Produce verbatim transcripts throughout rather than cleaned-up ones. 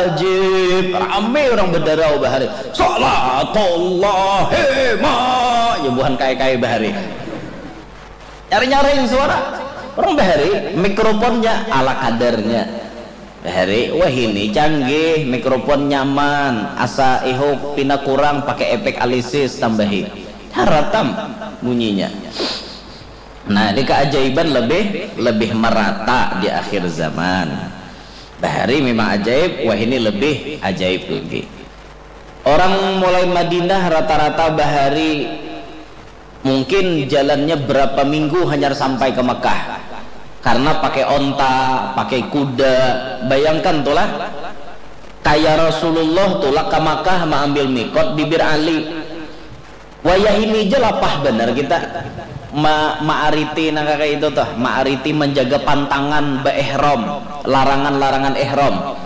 Ajib, rame orang bedarau bahari. Salatullahima, ya buhan kai-kai bahari. Nyari-nyaring suara orang bahari, mikrofonnya ala kadarnya. Bahari, wah ini canggih, mikrofon nyaman, asa ihuk pina kurang pakai efek alisis tambahi. Haratam bunyinya. Nah, ini keajaiban lebih lebih merata di akhir zaman. Bahari memang ajaib, wah ini lebih ajaib lagi. Orang mulai Madinah rata-rata bahari mungkin jalannya berapa minggu hanyar sampai ke Mekah. Karena pakai onta, pakai kuda. Bayangkan tulah, kaya Rasulullah tulak ke Mekah maambil mikot di Bir Ali. Wayah ini ja lapah banar kita ma maariti nang kaya itu tuh, maariti manjaga pantangan baihram, larangan-larangan ihram.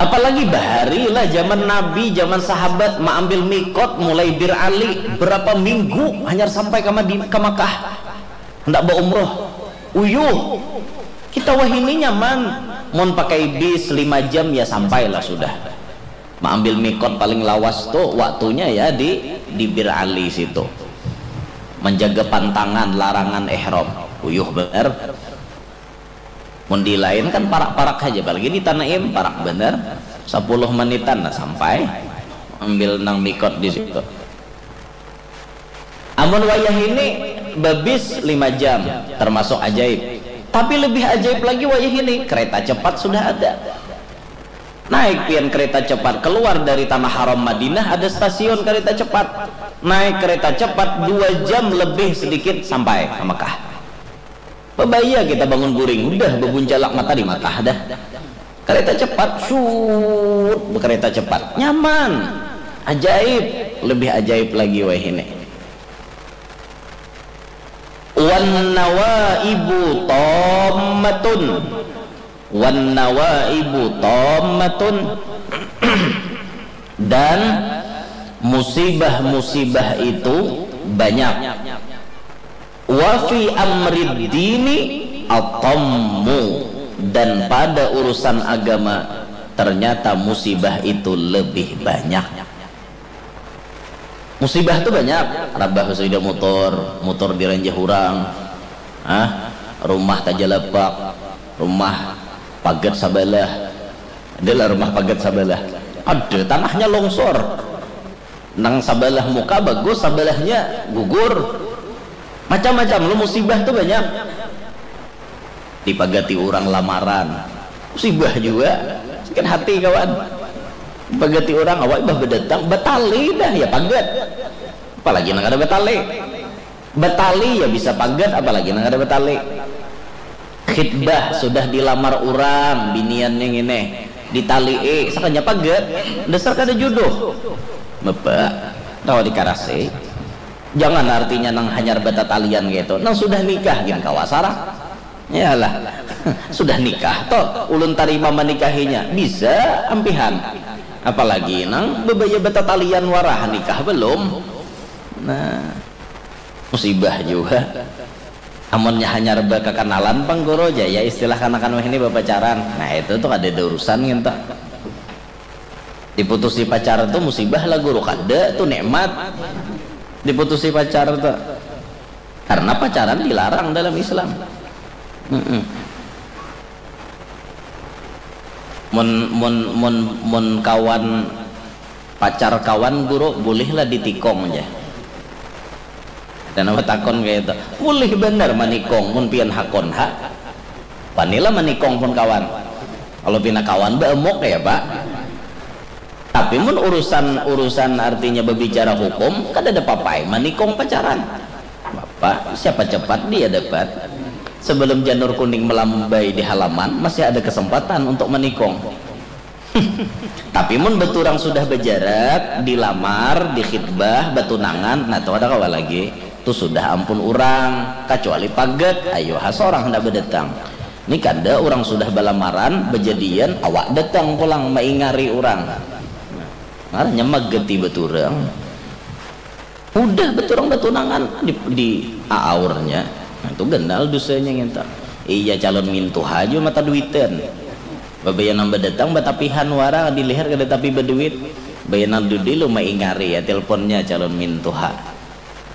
Apalagi bahari lah, zaman Nabi, zaman sahabat maambil mikot mulai Bir Ali, berapa minggu hanyar sampai ka Madin ka Makkah handak baumroh. Uyuh, kita wahini nyaman, mun pakai bis lima jam ya sampai lah sudah. Maambil mikot paling lawas tu waktunya ya di di Bir Ali situ. Manjaga pantangan larangan ihram. Uyuh banar. Mun di lain kan parak-parak haja, apalagi di Tanaim parak banar. Sapuluh menitan lah sampai. Ambil nang mikot di situ. Amun wayah ini babis lima jam, termasuk ajaib. Tapi lebih ajaib lagi wayah ini, kereta cepat sudah ada. Naik pian kereta cepat, keluar dari tanah haram Madinah ada stasiun kereta cepat. Naik kereta cepat dua jam lebih sedikit sampai ke Mekah. Babaya kita bangun guring, udah babuncalak mata di Makkah dah. Kereta cepat, syuuut, bekereta cepat, nyaman, ajaib, lebih ajaib lagi weh ini. Wan nawaibu tommatun, wan nawaibu tommatun, dan musibah-musibah itu banyak. Wa fi amrid dini atammu, dan pada urusan agama ternyata musibah itu lebih banyak. Musibah tu banyak, rabah sepeda motor, motor diranjah urang, ah, rumah tajalapak, rumah pagat sabalah, adalah rumah pagat sabalah, ada tanahnya longsor. Nang sabalah muka bagus, sabalahnya gugur. Macam-macam lo, musibah tu banyak. Dipagati urang lamaran, musibah jua. Sakit hati kawan. Dipagati urang, awak imbah badatang, batali dah, ya pagat. Apalagi nang kada batali. Batali ya bisa pagat, apalagi nang kada batali. Khitbah sudah dilamar urang, biniannya ngini, ditalii, sakanya pagat, dasar kada juduh. Bapa, kawa dikarasi. Jangan artinya nang hanyar batatalian kaitu, nang sudah nikah gin kawa sarak. Yalah, sudah nikah toh, ulun tarima manikahinya, bisa ampihan. Apalagi nang babaya batatalian wara nikah balum. Nah, musibah jua. Amunnya hanyar bakakanalan pang guru ja, ya istilah kanakan wahini bapacaran. Nah, itu tu kadada urusan ngintu. Diputusi pacar tu musibah lah guru, kada tu nikmat. Diputusi pacar tu. Karena pacaran dilarang dalam Islam. Mm-mm. Mun mun mun mun kawan, pacar kawan guru, bulihlah ditikung ja. Dan apa takon kaya itu? Bulih banar manikung mun pian hakun ha. Wanilah manikung pun kawan. Kalau pina kawan baemuk ya pak. Tapi mun urusan urusan artinya babicara hukum kada ada papai manikung pacaran. Bapak siapa cepat dia dapat. Sebelum janur kuning melambai di halaman masih ada kesempatan untuk manikung. Tapi mun baturang sudah bajarak, dilamar, dikhitbah, batunangan, nah tu kada kawa lagi. Tu sudah ampun urang, kacuali pagat, ayu ha sorang handak badatang. Ni kada, urang sudah balamaran, bajadian, awak datang pulang maingari urang. Ngarannya magati baturang. Hudah baturang batunangan di, di aaurnya. Nah, tu ganal dusanya ngintu. Iya calon mintuha jua mata duitan. Babaya nang badatang batapihan wara di lihir kada tapi baduit. Baya nang dudi lu maingari ya tilponnya calon mintuha.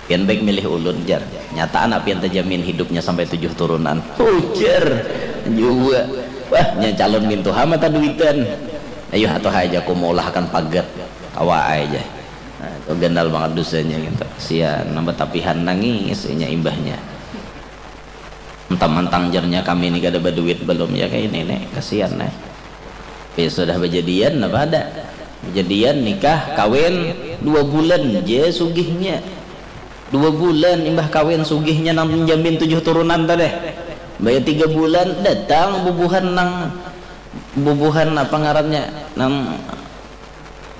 Pian baik milih ulun jar. Nyata anak pian tajamin hidupnya sampai tujuh turunan. Ujar jua. Wah nya calon mintuha mata duitan. Ayuh atuh aja ku maulahakan pagat. Kawa aja. Nah, itu gandal banget dosanya gitu. Sian nang batapihan nangis inya imbahnya. Mentang-mentang jarnya kami ni kada baduit balum ya kaya ini nih, kasian nih. Ya sudah bajadian napa ada? Bajadian nikah kawin dua bulan ja sugihnya. Dua bulan imbah kawin sugihnya nang menjamin tujuh turunan tadi. Baya tiga bulan datang bubuhan nang bubuhan apa ngarannya nang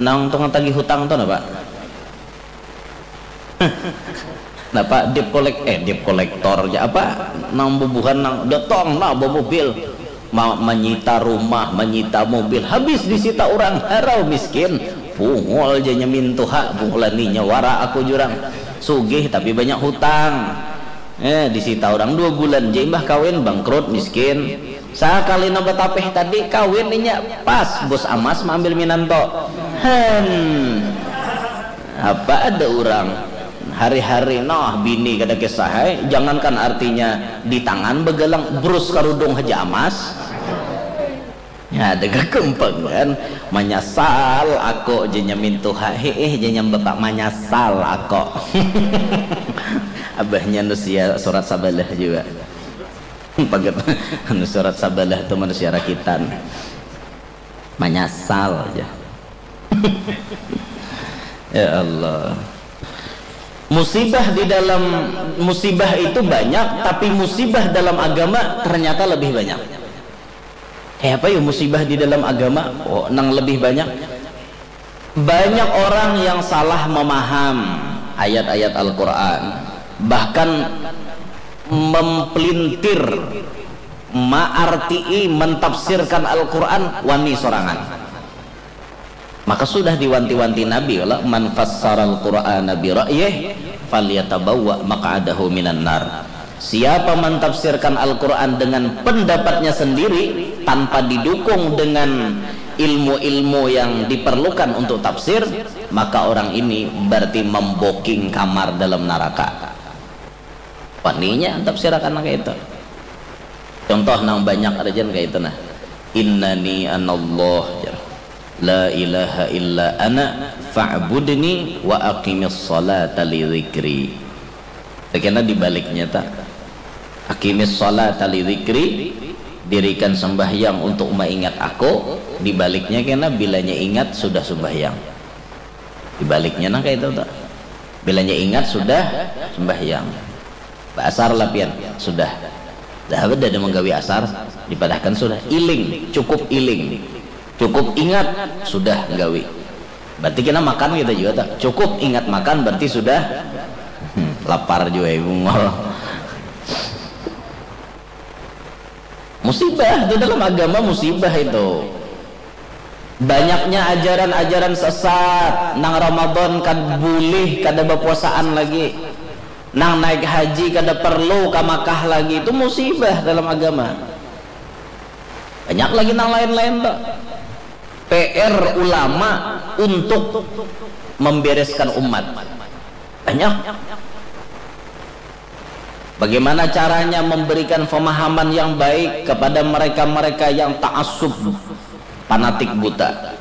Nang tukang tagih hutang tu napa? Napa debt collect eh debt collector ja apa nang bubuhan nang datang nah bawa mobil ma, manyita rumah manyita mobil habis disita orang harau miskin bungul ja nyamin tuha bungulaninya wara aku jurang sugih tapi banyak hutang eh disita orang dua bulan ja imbah kawin bangkrut miskin Sakali nang batapih tadi kawin inya pas bus amas maambil minanto. Hen. Apa ada urang hari-hari noh bini kada kisah ai jangankan artinya di tangan bagalang brus karudung haja amas. Nya ada gagampangan manyasal ako ja nya mintuha hiih ja nya bapak manyasal ako. Abahnya nusia surat sabalah jua. Pagat anu surat sabalah tu manusia rakitan. Manyasal aja. Ya Allah. Musibah di dalam musibah itu banyak, tapi musibah dalam agama ternyata lebih banyak. Kayak apa ya musibah di dalam agama? Oh, nang lebih banyak Banyak orang yang salah memaham ayat-ayat Al-Quran, bahkan mempelintir, maartii, mentafsirkan Al-Quran wani sorangan. Maka sudah diwanti-wanti Nabi, "Man fassaral Qur'ana bi ra'yih falyatabawwa maq'adahu minan nar." Siapa mentafsirkan Al-Quran dengan pendapatnya sendiri tanpa didukung dengan ilmu-ilmu yang diperlukan untuk tafsir, maka orang ini berarti memboking kamar dalam naraka. Waninya tafsirakan kayak itu. Contoh nang banyak ada jen kayak itu nah. Innani anallah jar. La ilaha illa ana fa'budni wa aqimis salata li dzikri. Kena dibaliknya ta. Aqimis salata li dzikri, dirikan sembahyang untuk maingat aku, dibaliknya kena bilanya ingat sudah sembahyang. Dibaliknya nang kayak itu ta. Bilanya ingat sudah sembahyang. Baasar lah pian, sudah. Dah ada menggawi asar, dipadahkan sudah. Iling, cukup iling. Cukup ingat, sudah gawi. Berarti kita makan kita juga tak. Cukup ingat makan berarti sudah hmm, lapar juga ibu ngol. Musibah itu dalam agama musibah itu. Banyaknya ajaran-ajaran sesat, nang Ramadan kad bulih kada bapuasaan lagi. Nang naik haji kada perlu ka Makkah lagi, itu musibah dalam agama. Banyak lagi nang lain-lain tu. P R ulama untuk membereskan umat. Banyak. Bagaimana caranya memberikan pemahaman yang baik kepada mereka-mereka yang ta'assub, fanatik buta.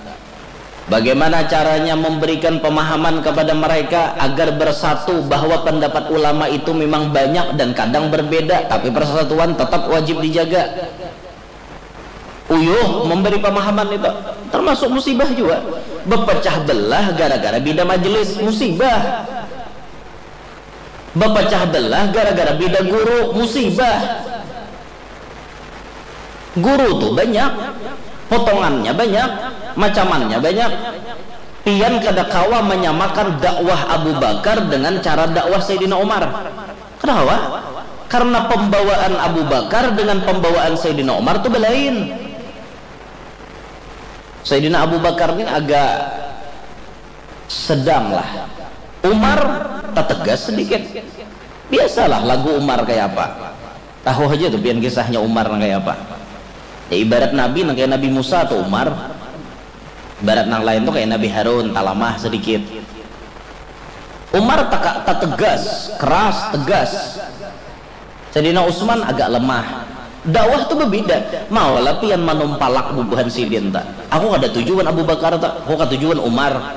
Bagaimana caranya memberikan pemahaman kepada mereka agar bersatu bahwa pendapat ulama itu memang banyak dan kadang berbeda, tapi persatuan tetap wajib dijaga. Uyuh memberi pemahaman itu termasuk musibah juga. Bepecah belah gara-gara bida majelis, musibah. Bepecah belah gara-gara bida guru, musibah. Guru tu banyak, potongannya banyak, macamannya banyak. Pian kada kawa menyamakan dakwah Abu Bakar dengan cara dakwah Sayyidina Umar. Kada kawa. Karena pembawaan Abu Bakar dengan pembawaan Sayyidina Umar tu belain. Sayyidina Abu Bakar ni agak sedang lah. Umar tetegas sedikit. Biasalah lagu Umar kayak apa. Tahu aja tuh pian kisahnya Umar kayak apa. Ya, ibarat nabi nang kayak Nabi Musa atau Umar. Ibarat nang lain tuh kayak Nabi Harun, talamah sedikit. Umar teka- tegas, keras, tegas. Sayyidina Utsman agak lemah. Dakwah tuh berbeda. Mau lah pian manumpalak bubuhan sidin ta. Aku kada tujuan Abu Bakar ta. Aku kada tujuan Umar.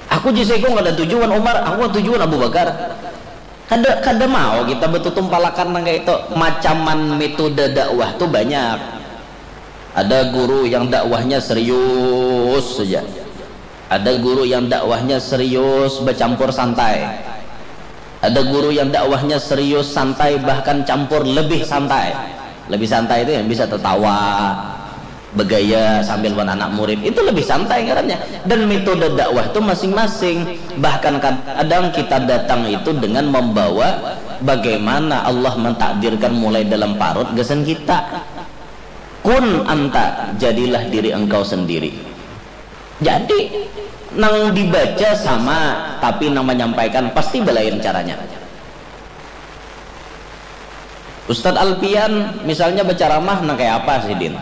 Aku jiseko kada tujuan Umar. Aku kada tujuan Abu Bakar. Kada kada mau kita betutumpalakan nang kayak itu. Macaman metode dakwah tuh banyak. Ada guru yang dakwahnya serius saja. Ada guru yang dakwahnya serius bercampur santai. Ada guru yang dakwahnya serius santai bahkan campur lebih santai. Lebih santai itu yang bisa tertawa, bergaya sambil buat anak murid itu lebih santai ngarannya. Dan metode dakwah itu masing-masing. Bahkan kadang kita datang itu dengan membawa bagaimana Allah mentakdirkan mulai dalam parut gasan kita. Kun anta, jadilah diri engkau sendiri. Jadi nang dibaca sama, tapi nang menyampaikan pasti belain caranya. Ustadz Alpian misalnya berceramah nang kayak apa sidin?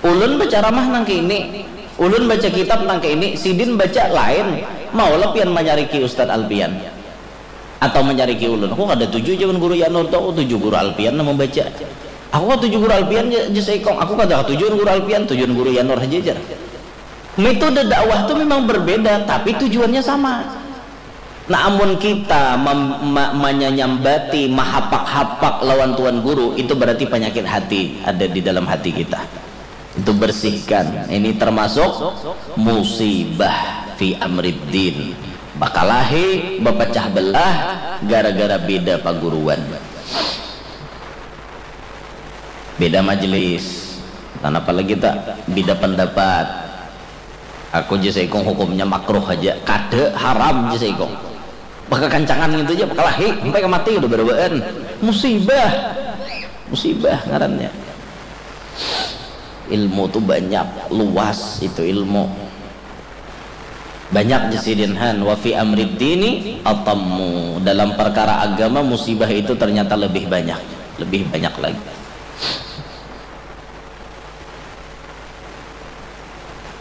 Ulun berceramah nang kayak ini, ulun baca kitab nang kayak ini, sidin baca lain. Mau lepian menyariki Ustadz Alpian atau menyariki ulun? Aku kada tuju jaman guru Yanur tuh, aku tuju guru Alpian nang membaca. Aku kada tuju guru Alpian je seikong, aku kada tujuan guru Alpian, tujuan guru Yanur aja jar. Metode dakwah tuh memang berbeda tapi tujuannya sama. Nah, amun kita mem- ma- menyanyambati, mahapak-hapak lawan tuan guru, itu berarti penyakit hati ada di dalam hati kita. Itu bersihkan. Ini termasuk musibah fi amriddin. Bakalahi, bepecah belah gara-gara beda paguruan. Beda majelis. Dan apalagi tak beda pendapat. Aku je seikung hukumnya makruh aja, kada haram je seikung. Bakakancangan gitu aja, bakalahi sampai ke mati udah berduaan. Musibah. Musibah ngarannya. Ilmu tuh banyak, luas itu ilmu. Banyak je sidin han, wa fi amrid dini atammu. Dalam perkara agama musibah itu ternyata lebih banyak, lebih banyak lagi.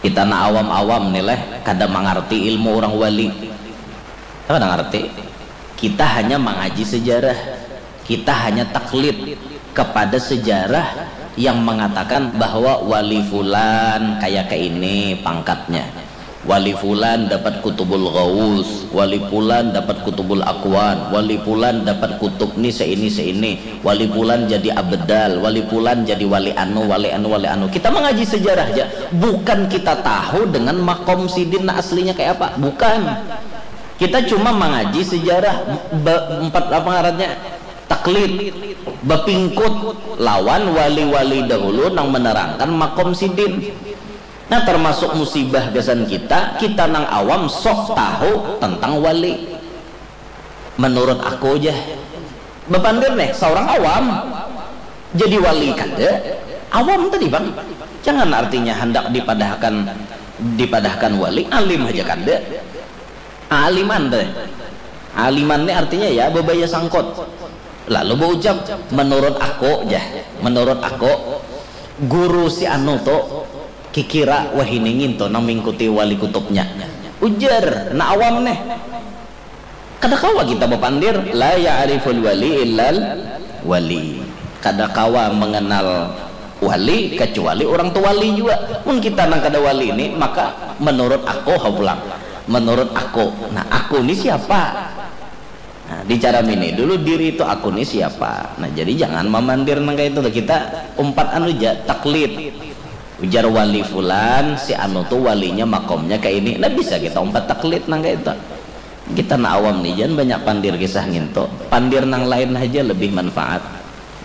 Kita na awam-awam nih leh, kada mangarti ilmu orang wali. Kada ngarti. Kita hanya mangaji sejarah. Kita hanya taklid kepada sejarah yang mengatakan bahwa wali fulan kaya ke ini pangkatnya. Wali fulan dapat kutubul ghaus, wali fulan dapat kutubul akwan, wali fulan dapat kutub ni seini seini, wali fulan jadi abdal, wali fulan jadi wali anu, wali anu, wali anu. Kita mengaji sejarah aja, bukan kita tahu dengan makom sidin aslinya kayak apa, bukan. Kita cuma mengaji sejarah be- empat apa ngarannya, taklid, bepingkut lawan wali-wali dahulu nang menerangkan makom sidin. Nah, termasuk musibah gasan kita, kita nang awam sok tahu tentang wali. Menurut aku aja, bepandir nih seorang awam jadi wali kada, awam tadi bang, jangan artinya hendak dipadahkan dipadahkan wali, alim aja kada. Aliman teh. Aliman ni artinya ya bebaya sangkut. Lalu beucap, menurut aku jah, menurut aku guru si anu tu kikira wahini ngintu nang mingkuti wali kutubnya. Ujar na awam neh. Kada kawa kita bapandir, la ya'riful wali illal wali. Kada kawa mengenal wali kecuali orang tu wali jua. Mun kita nang kada wali ni, maka menurut aku ha pulang. Menurut aku. Nah, aku ni siapa? Nah, dicaramini dulu diri tu aku ni siapa. Nah, jadi jangan mamandir nang kaya itu. Kita umpat anu ja, taklid. Ujar wali fulan, si anu tu walinya makomnya kaya ini. Nah, bisa kita umpat taklid nang kaya itu. Kita na awam ni, jangan banyak pandir kisah ngintu. Pandir nang lain haja lebih manfaat.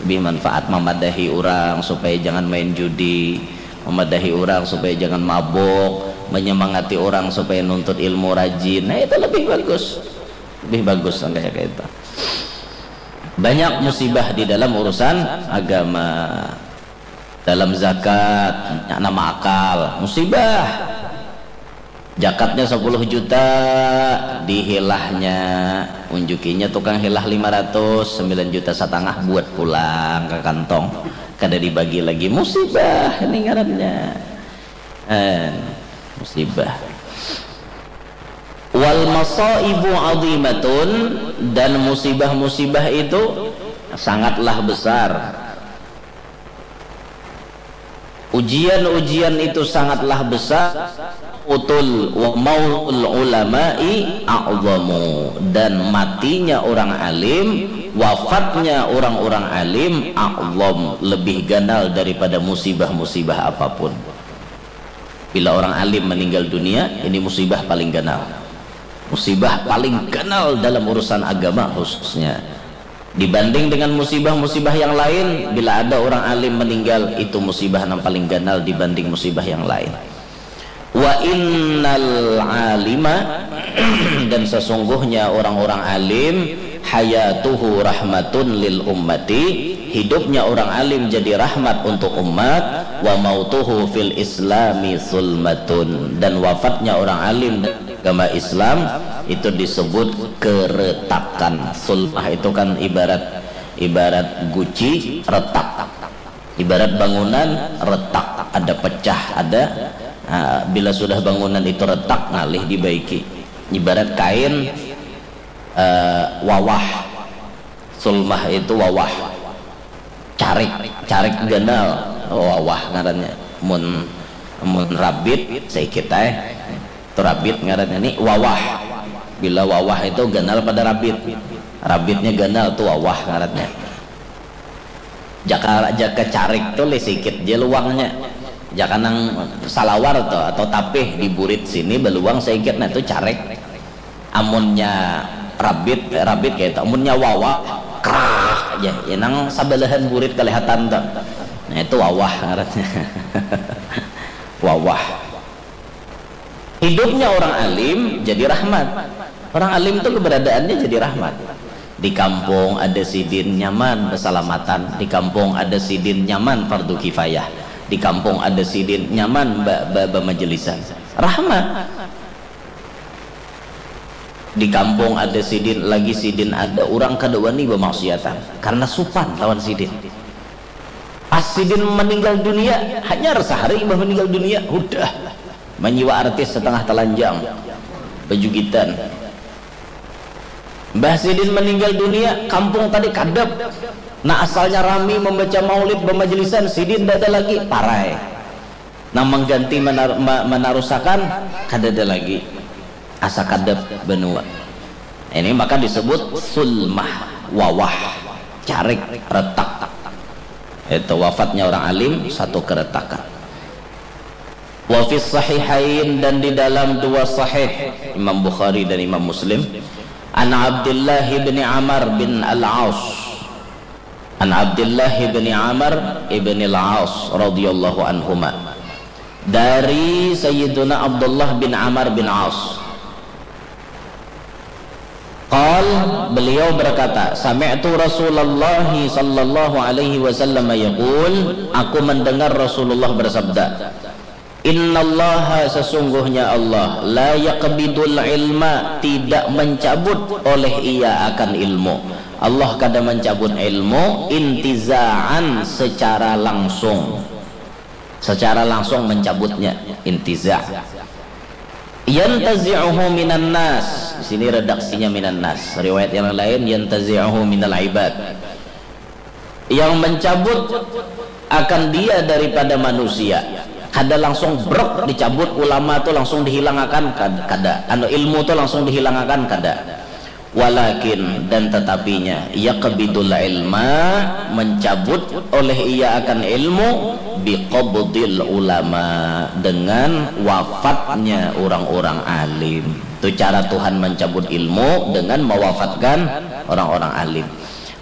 Lebih manfaat mamadahi urang supaya jangan main judi, mamadahi urang supaya jangan mabuk, menyemangati urang supaya nuntut ilmu rajin. Nah, itu lebih bagus. Lebih bagus nang kaya itu. Banyak musibah di dalam urusan agama. Dalam zakat, nama akal, musibah. Jakatnya sepuluh juta, dihilahnya, unjukinya tukang hilah lima ratus, sembilan juta setengah buat pulang ke kantong. Kada dibagi lagi, musibah ini ngarannya. Eh, musibah. Wal masaibu azimatun, dan musibah-musibah itu sangatlah besar. Ujian-ujian itu sangatlah besar. Utul wa mautul ulama'i a'zamu, dan matinya orang alim, wafatnya orang-orang alim, a'zam, lebih ganal daripada musibah-musibah apapun. Bila orang alim meninggal dunia, ini musibah paling ganal. Musibah paling ganal dalam urusan agama khususnya. Dibanding dengan musibah-musibah yang lain, bila ada orang alim meninggal, itu musibah yang paling ganal dibanding musibah yang lain. Wa innal alima, dan sesungguhnya orang-orang alim, hayatuhu rahmatun lil ummati, hidupnya orang alim jadi rahmat untuk umat, wa mautuhu fil islami zulmatun, dan wafatnya orang alim dalam agama Islam itu disebut keretakan. Zulmah itu kan ibarat, ibarat guci retak, ibarat bangunan retak, ada pecah, ada, ah, bila sudah bangunan itu retak, ngalih dibaiki. Ibarat kain, eh, wawah. Zulmah itu wawah. Carik, carik ganal, wawah ngarannya. Mun, mun rabit, saikit ai. Itu rabit ngarannya. Ni wawah. Bila wawah itu ganal pada rabit. Rabitnya ganal, tu wawah ngarannya. Jaka, jaka carik tu lih sikit ja luangnya. Jaka nang salawar tu atau tapih di burit sini baluang saikit, nah tu carik. Amunnya rabit, eh, rabit kaya itu. Amunnya wawah, krak ja. Ya, nang sabalahan burit kalihatan tu. Nah, itu wawah ngarannya. Wawah. Hidupnya orang alim jadi rahmat. Orang alim tu keberadaannya jadi rahmat. Di kampung ada sidin nyaman basalamatan, di kampung ada sidin nyaman fardu kifayah, di kampung ada sidin nyaman ba, ba, bamajelisan. Rahmat. Di kampung ada sidin, lagi sidin ada, urang kada wani bamaksiatan karena supan lawan sidin. Pas sidin meninggal dunia, hanyar sahari imbah meninggal dunia, hudah manyiwa artis setengah telanjang, bejugitan. Mbah sidin meninggal dunia, kampung tadi kadep. Nah, asalnya rami membaca maulid, bamajelisan, sidin dada lagi, parai. Nang mengganti menar, ma, menarusakan, kadada lagi. Asa kadep benua. Ini maka disebut sulmah, wawah, carik, retak. Itu wafatnya orang alim, satu keretakan. Wa fis sahihain, dan di dalam dua sahih Imam Bukhari dan Imam Muslim, an Abdullah bin Amr bin Al-As, an Abdullah bin Amr bin Al-As radhiyallahu anhuma, dari Sayyiduna Abdullah bin Amr bin As. Qal, beliau berkata, sami'tu Rasulullah sallallahu alaihi wasallam yaqul, aku mendengar Rasulullah bersabda, innallaha, sesungguhnya Allah, la yaqbidul ilma, tidak mencabut oleh Ia akan ilmu. Allah kada mencabut ilmu intiza'an, secara langsung. Secara langsung mencabutnya, intiza. Yantazi'uhu minan nas. Di sini redaksinya minan nas. Riwayat yang lain, yantazi'uhu minal ibad. Yang mencabut akan dia daripada manusia. Kada langsung brek dicabut, ulama tu langsung dihilangakan, kad-, kada. Anu, ilmu tu langsung dihilangakan, kada. Walakin, dan tetapinya, yaqbidul ilma, mencabut oleh Ia akan ilmu, biqabdil ulama, dengan wafatnya orang-orang alim. Itu cara Tuhan mencabut ilmu, dengan mewafatkan orang-orang alim.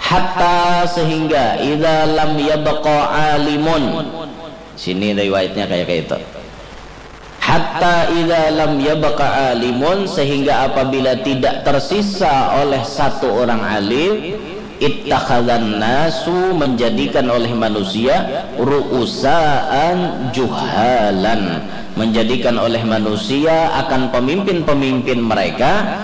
Hatta, sehingga, idza lam yabqa alimun. Sini riwayatnya kayak, kayak itu. Hatta idza lam yabqa alimun, sehingga apabila tidak tersisa oleh satu orang alim, ittakhadzan nasu, menjadikan oleh manusia, ru'usaan juhalan, menjadikan oleh manusia akan pemimpin-pemimpin mereka,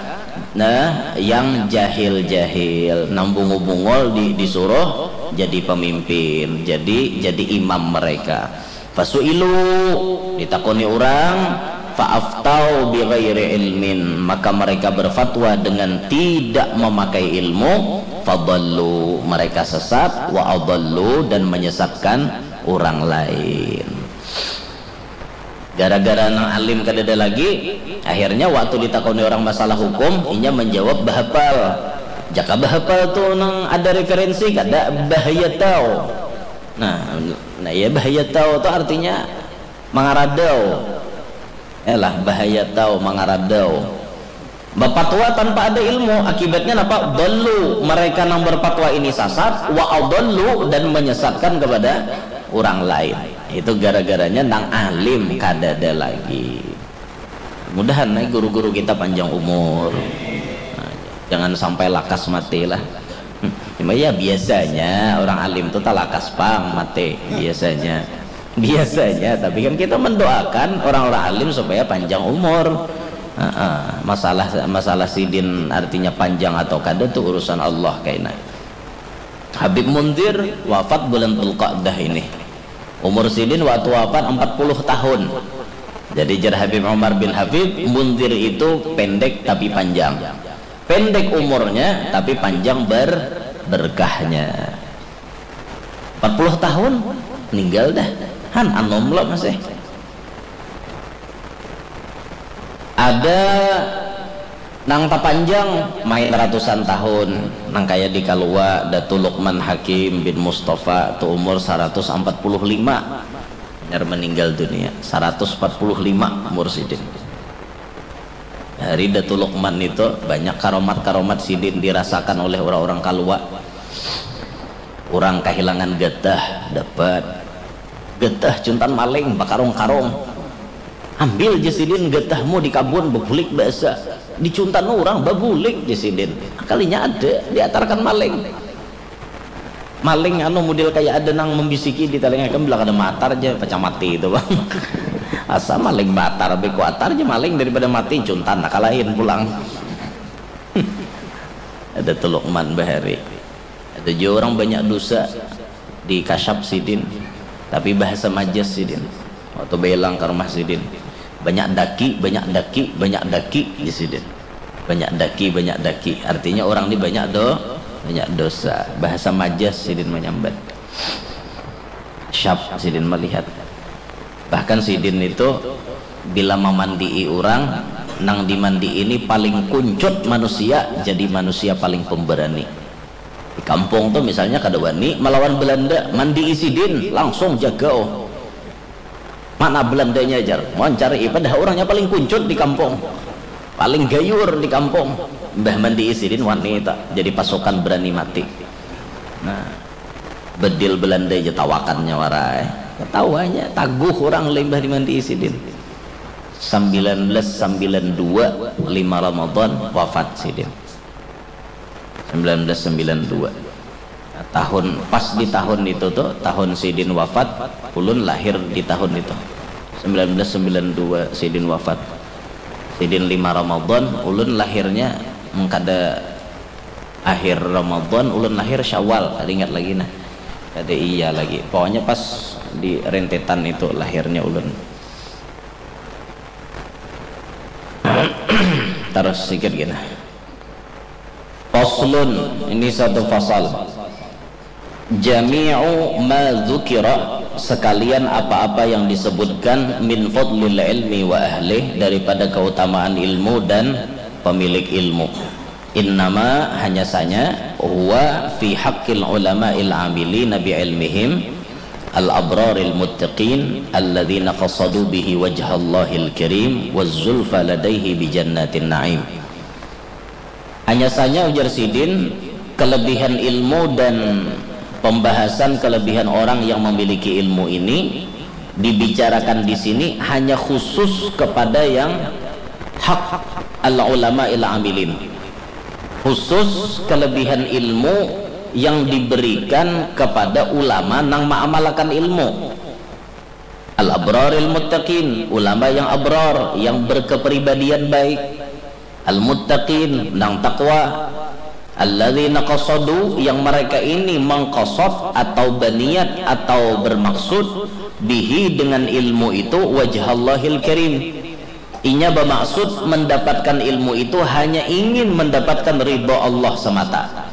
nah, yang jahil-jahil, nang bungul-bungul di, disuruh jadi pemimpin, jadi jadi imam mereka. Fasu'ilu, ditakoni urang, fa'aftau bighairi ilmin, maka mereka berfatwa dengan tidak memakai ilmu, fadallu, mereka sesat, wa adallu, dan menyesatkan orang lain. Gara-gara nang alim kadada lagi, akhirnya waktu ditakoni orang masalah hukum, inya menjawab bahapal. Jaka bahapal tu nang ada referensi kada, bahaya tau. Nah, nah ya, bahaya tau tu artinya mangaradau. Yalah, bahaya tau, mangaradau. Bapatwa tanpa ada ilmu, akibatnya napa? Dallu, mereka nang berpatwa ini sasat, wa adallu, dan menyesatkan kepada orang lain. Itu gara-garanya nang alim kadada lagi. Mudahan nih guru-guru kita panjang umur. Nah, jangan sampai lakas mati lah. Cuma ya biasanya orang alim tuh talakas pang mati biasanya. Biasanya, tapi kan kita mendoakan orang-orang alim supaya panjang umur. Heeh, masalah masalah sidin artinya panjang atau kada tuh urusan Allah kaina. Habib Munzir wafat bulan Dzulqa'dah ini. Umur sidin waktu wafat empat puluh tahun. Jadi jar Habib Umar bin Habib, Munzir itu pendek tapi panjang. Pendek umurnya tapi panjang ber berkahnya. Empat puluh tahun ninggal dah. Han anom lo masih. Ada nang tapanjang main ratusan tahun, nang kaya di Kalua, Datu Lukman Hakim bin Mustafa tu umur saratus ampat puluh lima. Hanyar meninggal dunia, saratus ampat puluh lima umur sidin. Hari Datu Lukman itu banyak karomat-karomat sidin dirasakan oleh orang-orang Kalua. Orang kahilangan getah, dapat. Getah cuntan maling, bakarung-karung. Ambil ja sidin getahmu di kabun, bebulik basa. Dicuntan orang, babulik ja sidin. Kalinya ada, diatarkan maling. Maling anu mudil kaya ada nang membisiki di talinga ikam, bila kada maatar ja, pacah mati itu bang. Asa maling maatar, beko atar ja maling daripada mati, cuntan nah kalahin pulang. Ada tu Lukman bahari. Ada jua orang banyak dosa di kasyap sidin, tapi bahasa majas sidin. Waktu bailang ka rumah sidin, banyak daki, banyak daki, banyak daki di sidin. Banyak daki, banyak daki. Artinya orang ni banyak do, banyak dosa. Bahasa majas sidin manyambat. Syap sidin melihat. Bahkan sidin itu bila mamandii orang, nang dimandii ini paling kuncut manusia, jadi manusia paling pemberani. Di kampung tu misalnya kada wani malawan Belanda, mandii sidin langsung jagau. Mana Belandanya jar, mancari, padahal orangnya paling kuncut di kampung, paling gayur di kampung. Mbah mandii sidin wani tak jadi pasukan berani mati. Nah, bedil Belanda aja tawakannya warai. Ketawanya taguh orang limbah dimandii sidin. Sembilan belas sembilan dua, lima Ramadan, wafat sidin. Sembilan belas sembilan dua. Nah, tahun, pas di tahun itu tuh, tahun sidin wafat, ulun lahir di tahun itu. Sembilan belas sembilan dua sidin wafat. Sidin lima Ramadan, ulun lahirnya mengkada akhir Ramadan, ulun lahir Syawal, kada ingat lagi nah. Kada iya lagi. Pokoknya pas di rentetan itu lahirnya ulun. Terus sikit gini. Faslun, ini satu fasal. Jami'u ma dzukira, sekalian apa-apa yang disebutkan, min fadlil ilmi wa ahlih, daripada keutamaan ilmu dan pemilik ilmu. Innama, hanya saja, huwa fi haqqil ulama'il amilina bi ilmihim, al abraril muttaqin alladzina qasadu bihi wajhallahil karim waz zulfa ladaihi bi jannatin na'im. Hanya saja ujar sidin, kelebihan ilmu dan pembahasan kelebihan orang yang memiliki ilmu ini dibicarakan di sini hanya khusus kepada yang hak al ulama il amilin. Khusus kelebihan ilmu yang diberikan kepada ulama nang maamalakan ilmu. Al abraril muttaqin, ulama yang abrar, yang berkepribadian baik. Al muttaqin, nang takwa. Alladzina qasadu, yang mereka ini mengqasad atau berniat atau bermaksud, bihi, dengan ilmu itu, wajhallahil karim. Inya bermaksud mendapatkan ilmu itu hanya ingin mendapatkan ridho Allah semata.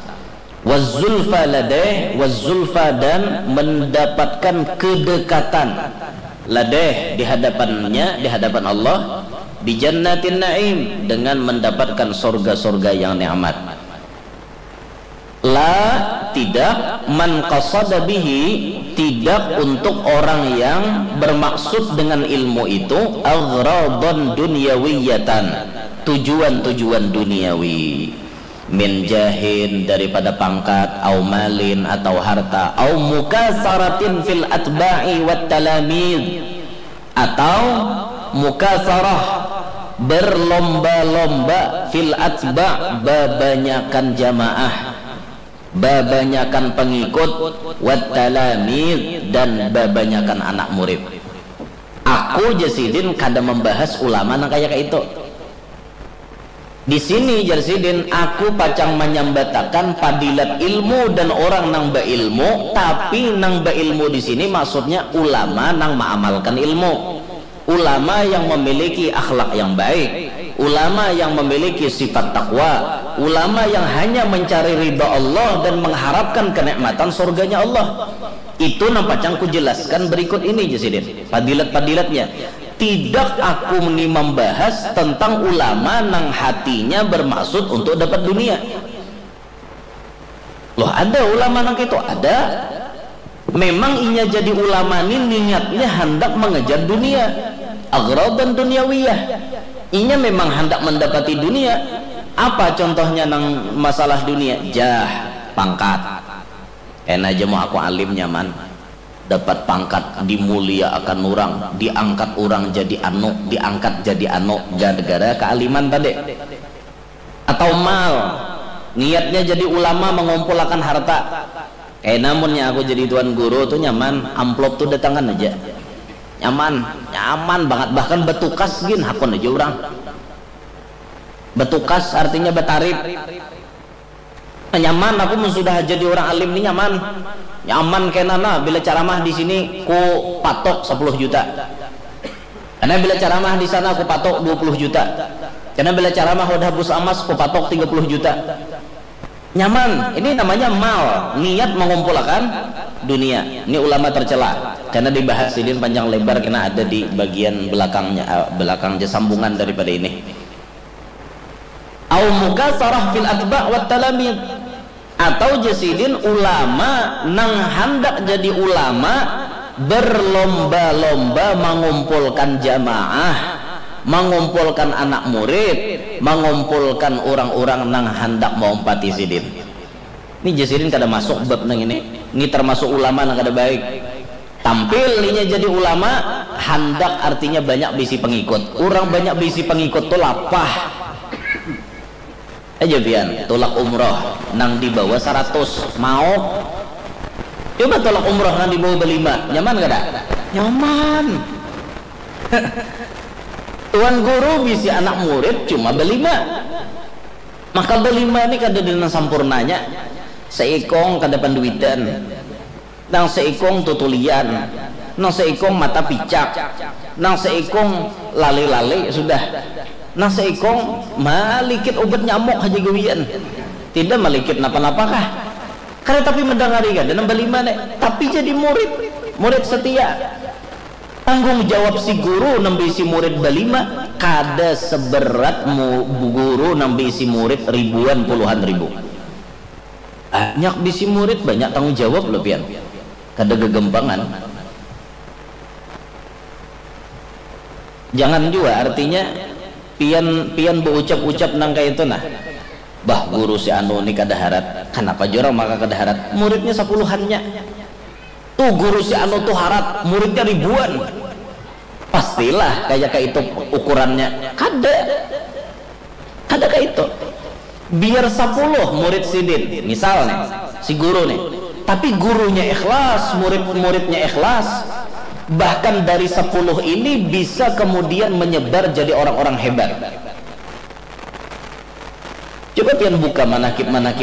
Wazzulfa ladaih, wazzulfa, dan mendapatkan kedekatan, ladaih, di hadapannya, di hadapan Allah, bijannatin na'im, dengan mendapatkan sorga-sorga yang nikmat. La, tidak, man qasada bihi, tidak untuk orang yang bermaksud dengan ilmu itu aghradan dunyawiyatan, tujuan-tujuan duniawi, min jahin, daripada pangkat, au malin, atau harta, au mukasaratin fil atba'i wat talamid, atau mukasarah, berlomba-lomba, fil atba, babanyakan jamaah, babanyakan pengikut, wat talamid, dan babanyakan anak murid. Aku, jar sidin, kada membahas ulama nang kaya kaitu. Di sini, jar sidin, aku pacang manyambatakan padilat ilmu dan orang nang bailmu, tapi nang bailmu di sini maksudnya ulama nang maamalkan ilmu, ulama yang memiliki akhlak yang baik, ulama yang memiliki sifat takwa, ulama yang hanya mencari ridha Allah dan mengharapkan kenikmatan surganya Allah. Itu nang pacang kujelaskan berikut ini, jar sidin, padilat-padilatnya. Tidak aku ni membahas tentang ulama nang hatinya bermaksud untuk dapat dunia. Loh, ada ulama nang itu? Ada. Memang inya jadi ulama ni niatnya handak mengejar dunia, aghradan dunyawiyah. Inya memang handak mendapati dunia. Apa contohnya nang masalah dunia? Jah, pangkat. Kena aja mau aku alim nyaman. Dapat pangkat, dimulia akan orang, diangkat orang jadi anu, diangkat jadi anu, gara-gara kealiman tadi. Atau mal, niatnya jadi ulama mengumpulakan harta. Kayak namunnya aku jadi tuan guru tuh nyaman, amplop tuh datangan aja. Nyaman, nyaman banget, bahkan betukas gin hakun aja orang. Betukas artinya betarip. Nyaman, aku mun sudah jadi orang alim ni nyaman. Nyaman kena nah, bila ceramah di sini ku patok sepuluh juta. Karena bila ceramah di sana ku patok dua puluh juta. Karena bila ceramah wadah bus amas ku patok tiga puluh juta. Nyaman, ini namanya mal, niat mengumpulkan dunia. Ini ulama tercela. Karena dibahas sidin panjang lebar karena ada di bagian belakangnya, eh, belakangnya sambungan daripada ini. Au mukasarah fil atba wat talamid. Atau jar sidin ulama nang handak jadi ulama berlomba-lomba mengumpulkan jamaah, mengumpulkan anak murid, mengumpulkan orang-orang nang handak maumpati sidin. Ini jar sidin kada masuk bab nang ini. Ini termasuk ulama nang kada baik. Tampil inya jadi ulama, handak artinya banyak bisi pengikut. Orang banyak bisi pengikut tu lapah. Aja pian, tulak umroh nang dibawa saratus, mau? Coba tulak umroh nang dibawa belima, nyaman kada? Nyaman. Tuan guru bisi anak murid cuma belima. Maka belima ni kada ada nang sampurnanya. Seikong kada panduitan. Nang seikung tutulian, nang seikung mata picak, nang seikung lali-lali sudah, nang seikung malikit ubat nyamuk haja gawian. Tidak malikit napa-napa kah? Kada tapi mendengari kada nang balima ne, tapi jadi murid, murid setia. Tanggung jawab si guru nang bisi murid balima kada seberat mu, guru nang bisi murid ribuan puluhan ribu. Banyak bisi murid, banyak tanggung jawab lo pian. Kada gegempangan. Jangan jua artinya pian pian beucap-ucap nang kaya itu nah. Bah, guru si anu ni kada harat. Kanapa jua orang maka kada harat? Muridnya sapuluhannya. Tuh guru si anu tuh harat, muridnya ribuan. Pastilah kaya kaitu ukurannya. Kada. Kada kaitu. Biar sapuluh murid sidin, misal nih, si guru nih. Tapi gurunya ikhlas, murid-muridnya ikhlas. Bahkan dari sepuluh ini bisa kemudian menyebar jadi orang-orang hebat. Coba pian buka manakib-manakib